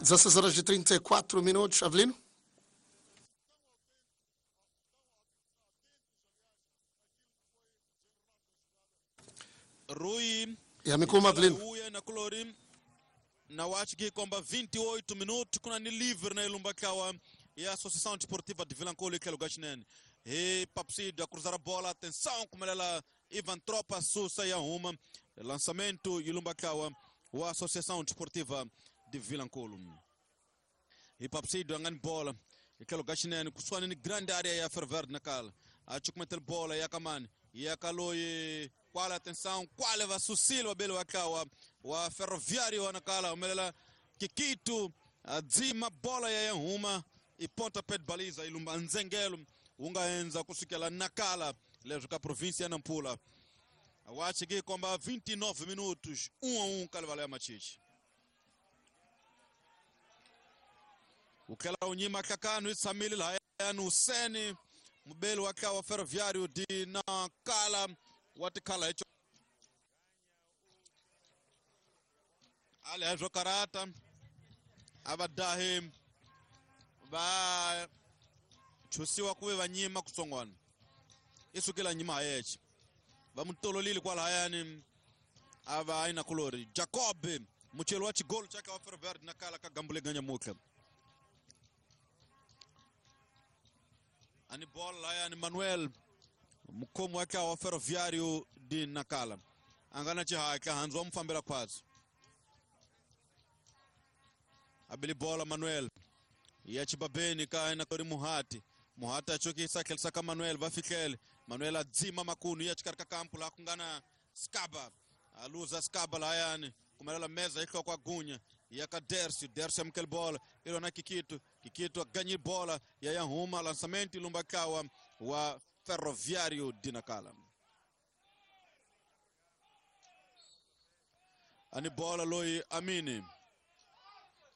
16 horas e 34 minutos, Avelino. Rui Yamikuma Avelino. Uya na kulori na wachiki kwamba 28 minutos kuna ni livre na ilumba kawa ya Associação Desportiva de Vilanculo ikelo gachinene. E Papsido a cruzar a bola, atenção como ela Ivan Tropa Sussa e arruma lançamento ilumba kawa wa Associação Desportiva de Vilanculo. E Papsido angani bola ikelo gachinene kuswana ni grande área ya Ferverde na kala. Achukumetel bola ya kamani ya kaloi kwala atenção kwale va susilo wabele wakawa wa Ferroviário wanakala umelela kikitu adzima bola ya yahuma iponta pet baliza ilumba nzengelo ungaenza kusukela nakala lezo ka província ya Nampula wachiki kwamba 29 minutos 1-1 kalevala ya machichi ukela unyima kakanu isamili lahayanu useni mubeli wakawa Ferroviário de Nakala watikhala hicho ali hezwo karata abadahi va chusiwa kuve va nyima kutsongwana isukela nyima hayeche va mutololile kwalahayani ava aina kulori Jacob muchelo wa chigolo chake wa Ferroviário de Nakala kagambule ganya mukha ani bola lahayani Manuel mukhomi wa wa Ferroviário de Nakala angana chihaka hanzi wa mufambela khwatsi abili bola Manuel ya chibabeni ka ina kori Muhati Muhati achokisa khelisa ka Manuel va fihlele Manuel adzima makunu ya xikarhi ka kampu laha ku nga na Skaba aluza Skaba lahayani kumelela meza yi hloko gunya ya ka Dercio Dercio amukela bola ilona Kikitu Kikitu aganyi bola ya yahuma lançamento ilumba kawa wa Ferroviário de Nakala. Ani bola loi Amini.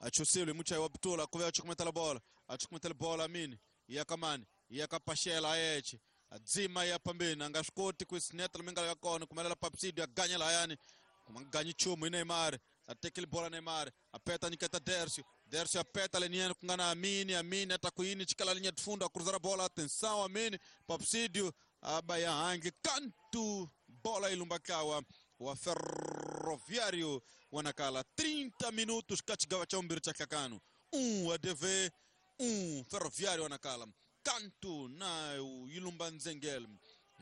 Achusile muchai wa Butula kuve achukumetela bola. Achukumetela bola Amini. Yakamani. Yakapashela ayeche. Adzima ya pambeni angashikoti kuisineta limingala yakona kumelela Papsidio aganya layani. Kumanganyi chumu Neymar. Atekele bola Neymar. Apeta niketa Dercio. Dercio apeta leniano kungana Amini. Amini atakuini chikala linha de fundo a cruzar a bola. Atenção Amini. Papsidio abaya hangi canto bola ilumbakawa wa Ferroviário wanakala 30 minutos kachigawa cha umbiri cha kakano 1 ADV 1 Ferroviário wanakala canto na ilumba nzengel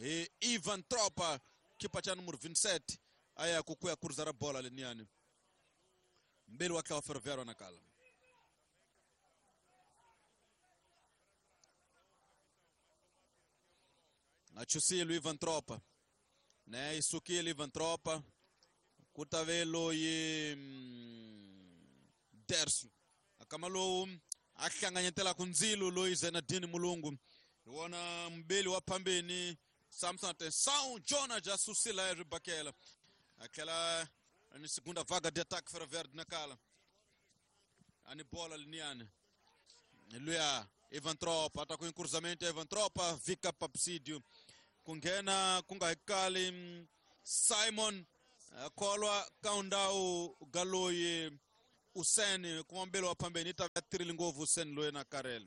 e Ivan Tropa kipa cha número 27 aya kukuya cruzar a bola leniano mbele wakawa Ferroviário wanakala Achusilo Ivan Tropa né isukile Ivan Tropa kutavelo ye Dercio akamalo ahlanganyetela kunzilo loyi Zenadini Mulungu wona mbeli wa phambeni Samson atenção Jonah jasusila ribakela aquela ni segunda vaga de ataque Ferroviário de Nakala ani bola liniane luya Ivan Tropa atacou em cruzamento Ivan Tropa vika Papsidio kungena kungahikali Simon kolwa kaundau galoyi Useni kumambelo wa pambeni itatirili ngovu Useni loye na Karel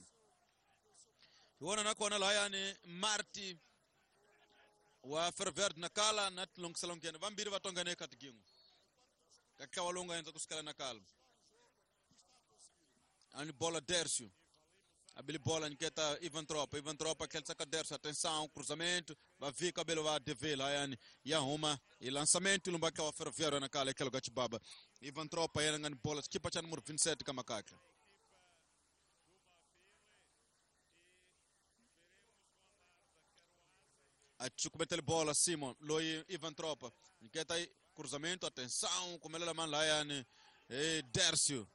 iwona nakona layani Marti wa Ferroviário de Nakala na tilongiselongene vambiri vatongene katigingu kakawalonga enza kusikala Nakala ani bola Dercio abili bola niketa Ivan Tropa Ivan Tropa khelisa ka Dercio atenção cruzamento va vika belo va devela yani yahuma e lançamento lumbaka wa Ferroviário Nakala ekelo gachibaba Ivan Tropa yena ngani bola skipa cha número 27 kamakaka achukumetele bola Simon loi Ivan Tropa niketa cruzamento atenção kumelela man la yani e Dercio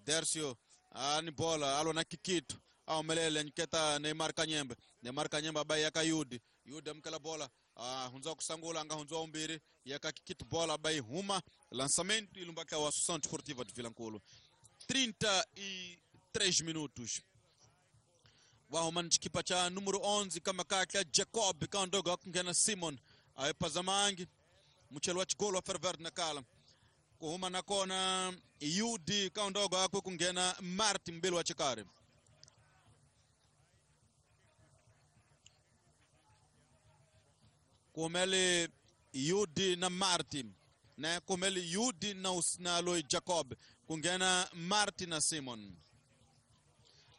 Dercio ani bola alona Kikito aumelele nketa Neymar Kanyembe Neymar Kanyembe abaye yaka Yudi Yudi amkela bola hunza kusangula anga hunza umbiri yaka Kikito bola abaye huma lançamento ilumbaka wa Associação Desportiva de Vilanculo 33 minutos wahuma nchikipa cha número 11 kama kaka Jacob kandogo akungena Simon ayepazamangi muchelo wa chigolo wa Ferroviário Nakala Kuhuma na kona UD kaundogo akwe kungena Martin mbili wa chikari. Kumele UD na Martin. Na kumele UD na Loy Jacob. Kungena Martin na Simon.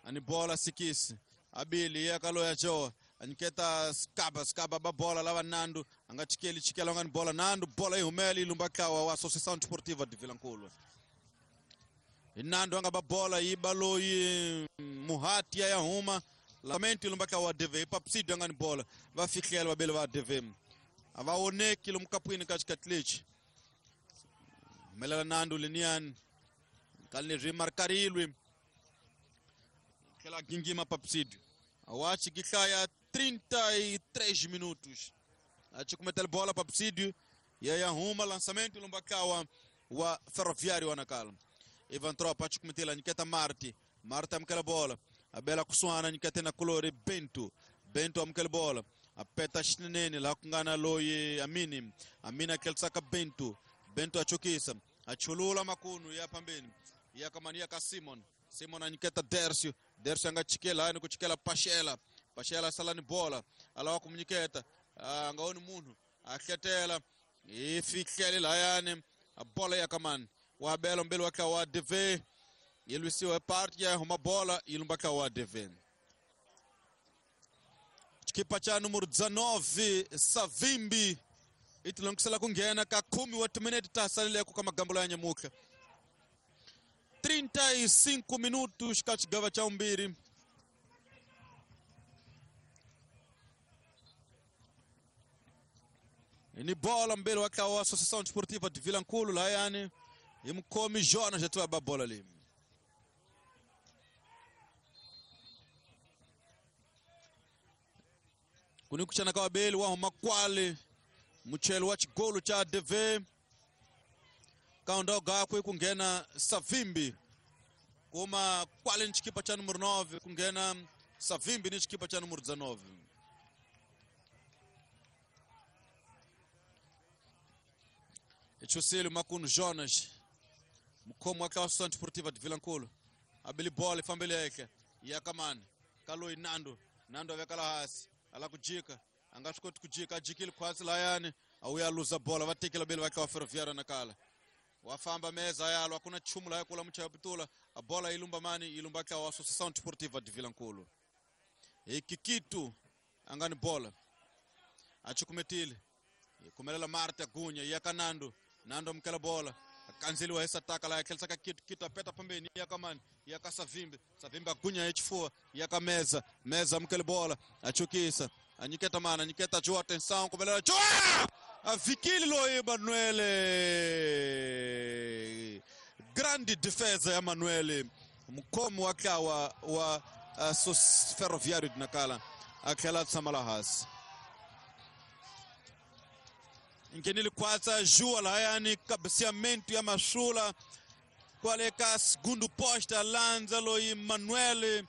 Ani bola sikisi. Abili yakalo ya jo. Aniketa skaba skaba ba bola lava Nando anga chikeli chikela ngani bola Nando bola ihumeli ilumba kawa wa Associação Desportiva de Vilankulo. Nando anga ba bola ibaloyi Muhati ya huma lamento ilumba kawa DV papsido ngani bola va fikela babele va DV. Avaoneki lumkapwini katika tlich. Melala Nando linian kalni rimarkarilwi. Kela gingima papsido. Awachi giklaya 33 minutos. Achi kumetel bola papsidio. Ya huma lançamento lumbakawa wa Ferroviário wa Nacala. Ivan Tropa achi kumetela niketa Marti. Marta amkela bola. Abela kusuana nikete na kolore Bento. Bento amkela bola. Apeta shinene la kungana loye Amini. Amina kelsaka Bento. Bento achukisa. Achulula makunu ya pambeni. Ya kamania ka Simon. Simon aniketa Dercio. Dercio anga chikela ani kuchikela Pashela. Pashela salani bola. Alawa kumuniketa. Angaoni munhu. Aketela. Ifikele layane. Bola ya kamani. Wabelo mbele waka wa DV. Yelusiwa parte ya huma bola ilumbaka wa DV. Chikipa cha número 19 Savimbi. Itilongisela kungena ka 10 wa minute tasalile ku kamagambo ya nyamuka. 35 minutos kachigava cha umbiri. Ni bola mbele waka wa Associação Desportiva de Vilankulo layani. Imkomi Jonas jatwa ba bola li. Kunikuchana kwa beli wa makwale muchelo wa chigolo cha DV. Kaondoga akwe kungena Savimbi. Kuma kwale ni chikipa cha número 9 kungena Savimbi ni chikipa cha número 19. Echusilo Makuno Jonas. Mkomo wa Associação Desportiva de Vilankulo. Abili bola ifambele yake. Yakamani. Kaloi Nando. Nando avekala hasi. Ala kujika. Angashikoti kujika ajikile kwasi layani. Auya luza bola vatekela beli vake wa Ferroviário Nacala. Wafamba meza yalo hakuna chumu la kula mcha pitula. A bola ilumba mani ilumba kwa Associação Desportiva de Vilankulo. Ikikitu angani bola. Achikumetile. Kumelela Marta Gunya yakanando. Nando mkela bola. Akanzeliwa esa taka la yakelsaka kitu kitu apeta pembeni yakamani yakasavimbi Savimbi agunya echifua yakameza meza mkele bola achukisa anyiketa mana anyiketa jua atenção kumelela jua avikili lo Emanuele grande defesa ya Emanuele mkomo wakawa wa Ferroviário de Nacala akela tsamalahas ngenile kwatsa jua layani cabeceamento ya mashula kwale ka segundo posta lanza lo Emanuele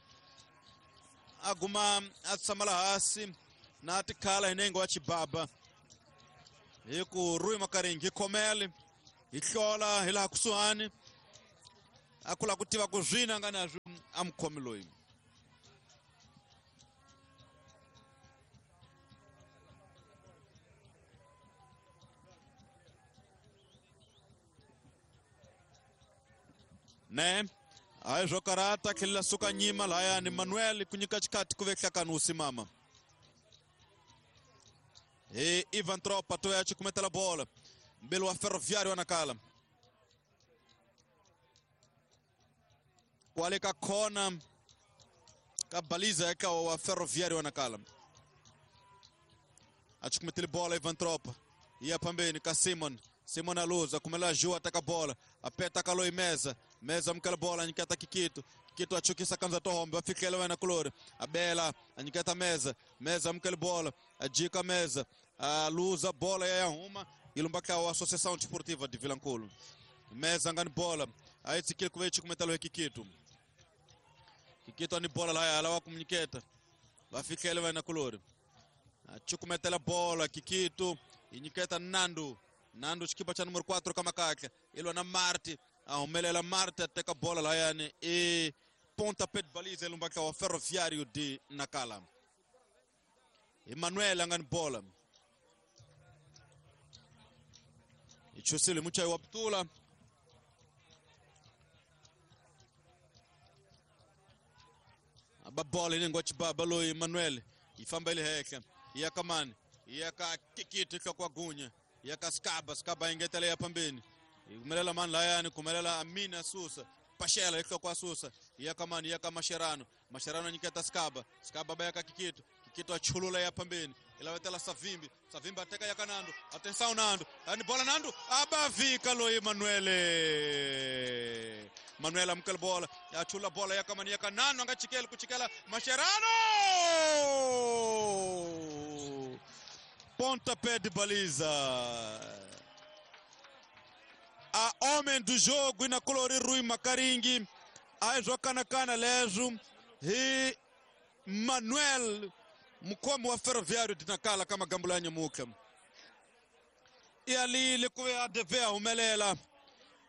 aguma atsamalahasi na tikhala inengo wa chibaba hiku Rui Makaringi khomele hihlola hilaha kusuhani akula kutiva ku zwina nga nazwo amkhomi loyi. Ne ayi zwo karata tlhelela suka nyima layani Manuel kunyika xikati ku vehlakani wu simama. E Ivan Tropa toya chikumetela bola. Mbele wa Ferroviário wa Nacala. Kwale ka kona ka baliza eka wa Ferroviário wa Nacala. Achikumetela bola Ivan Tropa. Ia pambeni ka Simon. Simon aluza kumela jua ataka bola. Apeta kaloi meza. Meza mkela bola aniketa Kikito. Kikito achukisa kanza tohombe afikele wena kulore. Abela aniketa meza. Meza mkela bola. Ajika meza. Aluza bola ya Yahuma. Ilumbaka wa Associação Desportiva de Vilankulo. Meza ngani bola. Aitsikile kuvechi kumetalo Kikito. Kikito ani bola la alawa kumniketa. Bafikele wena kulore. Achukumetela bola Kikito. Iniketa Nando. Nando xikipa xa numero 4 ka makatla i lwa na Marti a humelela Marti a teka bola layani i pontapé de baliza elumbaka wa Ferroviário de Nacala. Emmanuel a nga ni bola i chusile muchayi wa putula aba bola yi ngwa chibaba loyi Emmanuel yi famba yi le henhla yi ya ka mani yi ya ka Kikiti nhloko wa gunya yi ya ka Skaba Skaba yi ngetela ya phambeni yi humelela mani layani ku humelela Amina Susa Pashela hi nhloko wa Susa yi ya ka mani yi ya ka Mascherano Mascherano nyiketa Skaba Skaba ba ya ka Kikito Kikito a chulula ya phambeni yi lavetela Savimbi Savimbi a teka ya ka Nando atenção Nando ani bola Nando abavika loyi Manuele Manuel amukela bola a chula bola ya ka mani ya ka Nando a nga chikeli ku chikela Mascherano pontapé de baliza a homem do jogo na colori Rui Makaringi a swo kanakana leswo hi Manuel mukhomi wa Ferroviário de Nacala ka magambo ya nyamuka i alile ku ve a deve a humelela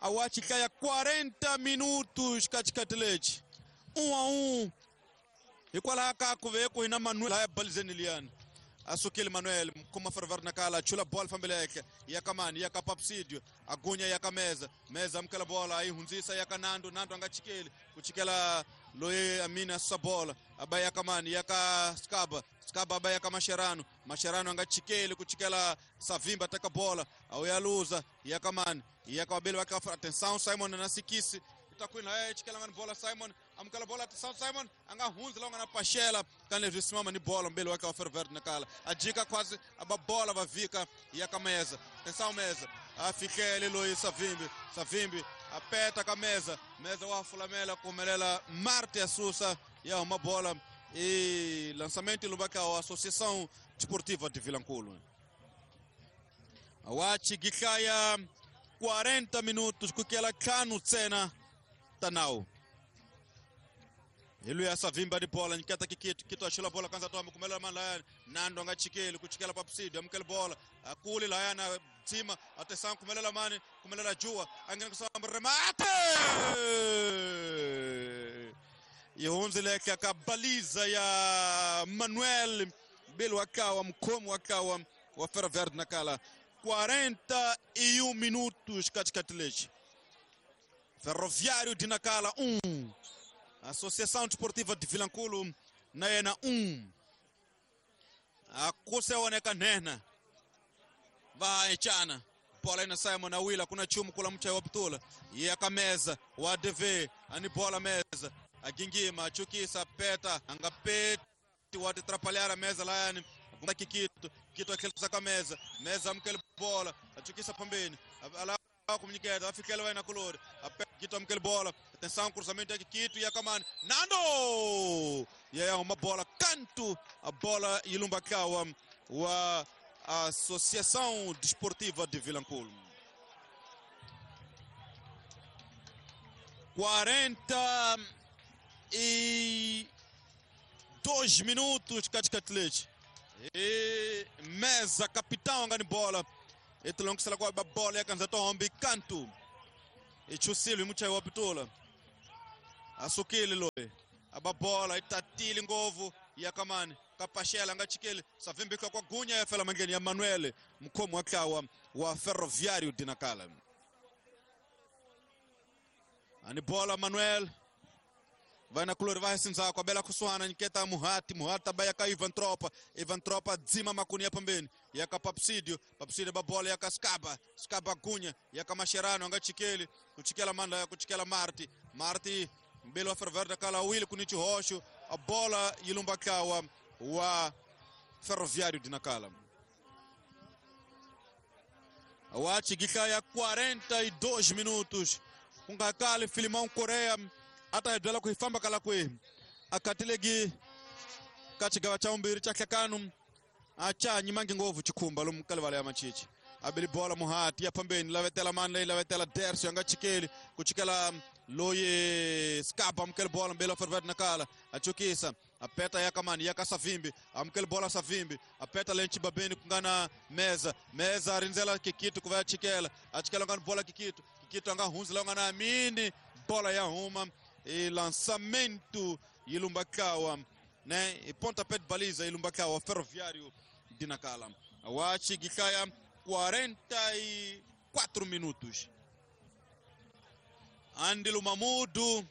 a wa xihlaya 40 minutos ka xikati lexi 1-1 hikwalaho ka ku ve ku hina Manuel laya balizeni liyani a sukile Manuel mukhomi wa Ferroviário de Nacala a chula bola fambele henhla ya ka mani ya ka Papsidio a gunya ya ka Meza Meza amukela bola a yi hundzisa ya ka Nando Nando a nga chikeli ku chikela loyi Amina susa bola a ba ya ka mani ya ka Skaba Skaba a ba ya ka Mascherano Mascherano a nga chikeli ku chikela Savimba teka bola a wu ya luza ya ka mani ya ka vabeli va ka atenção Simon na Sikisi takwini laya chikela nga ni bola Simon amukela bola atenção Simon a nga hundzi la u nga na Pashela ka leswi simama ni bola mbeli wa ka wa Ferroviário Nacala a jika khwasi a ba bola va vika ya ka Meza atenção Meza a fihlele loyi Savimbi Savimbi a peta ka Meza Meza wa fulamela ku humelela Marte a susa ya huma bola i lançamento lumbaka wa Associação Desportiva de Vilankulo wa chigihlaya 40 minutos kukela ntlhanu ntsena ta nawu hi luya Savimba di bola nyiketa Kikito Kito a xula bola kanza to kumelela mani layani Nando a nga chikeli ku chikela Papsidio amukela bola a kuli layani a dzima a tesanga kumelela mani kumelela Jua a nghena kusamba remate yi hundzile ka baliza ya Manuel mbili wa kawa mukhomi wa kawa wa Ferroviário de Nacala 41 minutos katikati lexi Ferroviário de Nacala 1 Associação Desportiva de Vilankulo na yena 1 a kuseoneka nhenha va echana bola ina Simon awila kuna chumu kula muchayi wa putula ya ka Meza wa DV ani bola Meza agingima achukisa peta anga peti wa titrapalhar Meza layani Kikito Kito akhelisa ka Meza Meza amukela bola achukisa phambeni ala kumnyiketa afikela wena kulori Kito amukela bola atenção cruzamento ya Kikito ya kamani Nando ya uma bola canto a bola ilumba kawa wa Associação Desportiva de Vilankulo 42 minutos katikati e Meza capitão nga ni bola etilongisela kwa bola yakanza tohombi kantu ichusile muchayi wa pitula asukile loyi aba bola itatile ngovu ya kamani kapashela nga chikeli Savimbika kwa gunya ya fela mangeni ya Manuel mukhomi wa kawa wa Ferroviário de Nacala ani bola Manuel vai na color vai sinzako abela kusuana nyiketa Muhati Muhati abaya ka Ivan Tropa Ivan Tropa dzima makunia pambeni ya ka Papsidio Papsidio babola ya ka Skaba Skaba gunya ya ka Mascherano anga chikeli kuchikela mandla ya kuchikela Marti Marti mbele wa Ferroviário Nacala wili kunichi hosho a bola yilumba kawa wa Ferroviário de Nacala wachi gihlaya 42 minutos ku nga kali Filimão Korea a ta hi byela ku hi famba kala kwihi a katilegi ka xigava xa vumbirhi xa nhlekano a cha nyimangi ngopfu xikhumba lomu ka livala ya machichi a beli bola Muhati ya phambeni lavetela mani leyi lavetela Derso ya nga chikeli ku chikela loyi Skaba amukela bola mbeli wa Ferroviário Nacala a chukisa Apeta yakamani yakasavimbi amukeli bola Savimbi apeta lenchi babeni kungana meza meza arinzela Kikito kuva chikela achikela ngani bola Kikito Kikito anga hunzela ngana Amini bola ya huma e lançamento ilumbakawa, né? E pontapé de baliza ilumbakawa Ferroviário de Nacala. Wachi Gikaya 44 minutos. Andilo Mamudu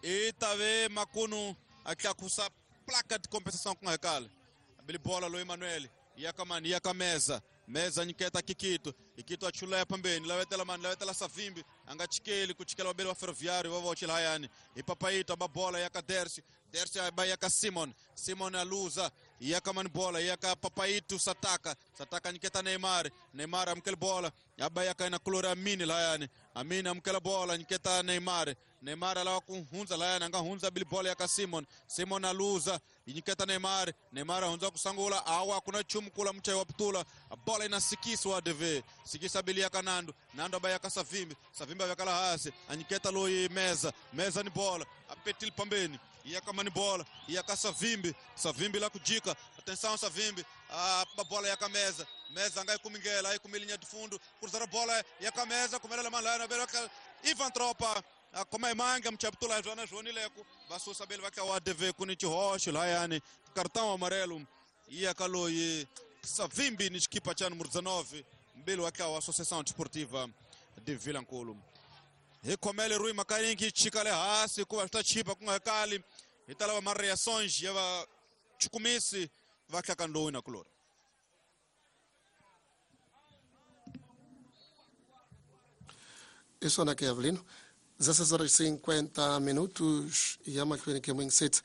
Itave Makuno aqui acusa placa de compensação com recalhe. Abili bola lo Emanuel Yakamani Yakameza meza nyiketa Kikito Ikito achulaya pambeni lawetela mani lawetela Savimbi angachikeli kuchikela wabeli wa Ferroviário vavochilayani ipapaito ababola yaka Dersi Dersi aba yaka Simon Simon aluza yaka mani bola yaka Papaito Sataka Sataka nyiketa Neymar Neymar amkele bola aba yaka ina kulora Amini layani Amini amkele bola nyiketa Neymar Neymar alawa kuhunza layani anga hunza bili bola yaka Simon Simon aluza inyiketa Neymar Neymar ahunza kusangula awa kuna chumu kula mchai waputula bola inasikiswa ADV sikisa bili yaka Nando Nando aba yaka Savimbi Savimbi avekala hasi anyiketa loyi meza meza ni bola apetil pambeni yakamani bola yaka Savimbi Savimbi la kujika atenção Savimbi a bola yaka meza meza ngai kumingela aí kumilinha de fundo cruzar a bola yaka meza kumelela malana beraka Ivan Tropa koma imanga mchaputula jona joni leko basusa bele vaka wa ADV kuni chihoxo layani cartão amarelo yakaloyi Savimbi ni xikipa cha número 19 mbili waka wa Associação Desportiva de Vilankulo. Hi khomele Rui Makarinki chikale hasi kuva swi ta chipa ku nga kali hi ta lava ma-reações ya vachukumisi va hlakandoni na kulori. Isso aqui, Avelino. 16 horas e 50 minutos e amahlweni ke mwingisetsi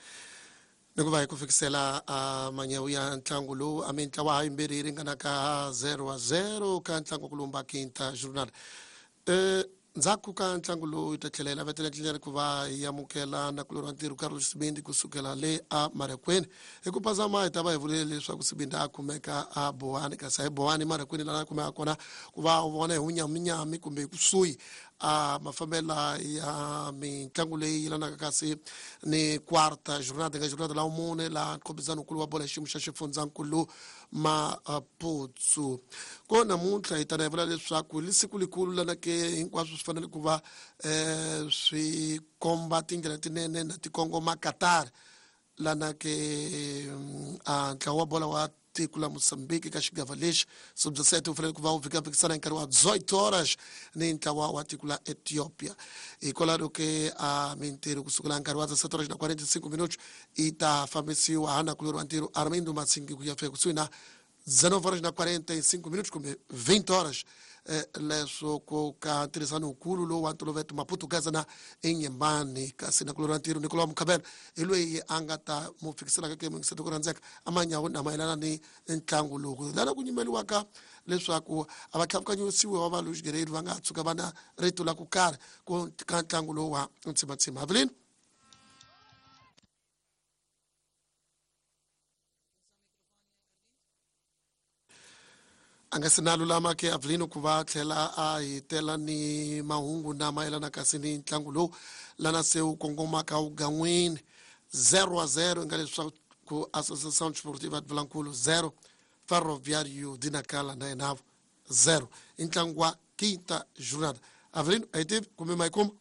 ni ku va hi ku fikisela a manyawu ya ntlangu lowu a mintlawa ha yimbirhi yi ringanaka 0-0 ka ntlangu ku lumba quinta jornada. Ndzhaku ka ntlangu lowu yi ta tlhela yi lavetela ndlela ku va yi amukela nakulorhi wa ntirho Carlos Sibindi kusukela le a Marekweni. Hi ku phazama hi ta va hi vulile leswaku Sibindi a kumeka a Bowani, kasi a hi Bowani Marekweni laha a kumeka kona ku va u vona hi wunyaminyami kumbe kusuhi a mafambela ya mitlangu leyi yelanaka kasi ni quarta jornada nga jornada la mune la nkhompisano-nkulu wa bola xiyimo xa xifundzankulu Maputsu. Ko namuntlha hi tana hi vula leswaku li siku likulu lana ke hinkwaswo swi fanele ku va swi komba tindlela tinene na tikongoma Qatar lana ke a ntlawa wa bola wa tiko la Mozambique ka xigava lexi sub-17 wu fanele ku va wu vhikavhikisana hi nkarhi wa 18 horas ni ntlawa wa tiko la Ethiopia. Hikwalaho ke a mintirho kusukela nkarhi wa 17 horas na 45 minutos yi ta fambisiwa hana kulori wa ntirho Armindo Matsingi ku ya fika kusuhi na 19 horas na 45 minutos kumbe 20 horas leswo ku ka ntirhisano wukulu lowu wa ntolovelo Maputu na enyembani kasi na kulori wa ntirho Nicolau Mukhabela hi loyi a nga ta mu fikiselaka ke mingiseto ku rhandzeka amanyawu na mayelana ni ntlangu lowu lana ku nyimeliwaka leswaku a va tlhavukanyisiwe wa va Luis Guerreiro va nga tshuka va na rito la ku karhi ku ka ntlangu lowu wa ntsimatsima. Avelino a nga se na lulama ke Avelino ku va tlhela a hi tela ni mahungu na mayelana kasi ni ntlangu lowu lana se wu kongomaka wugan'wini 0-0 nga leswaku Associação Desportiva de Vilankulo 0 Ferroviário de Nacala na yenavo 0 i ntlangu wa quinta jornada. Avelino a hi tivi kumbe ma yi kuma.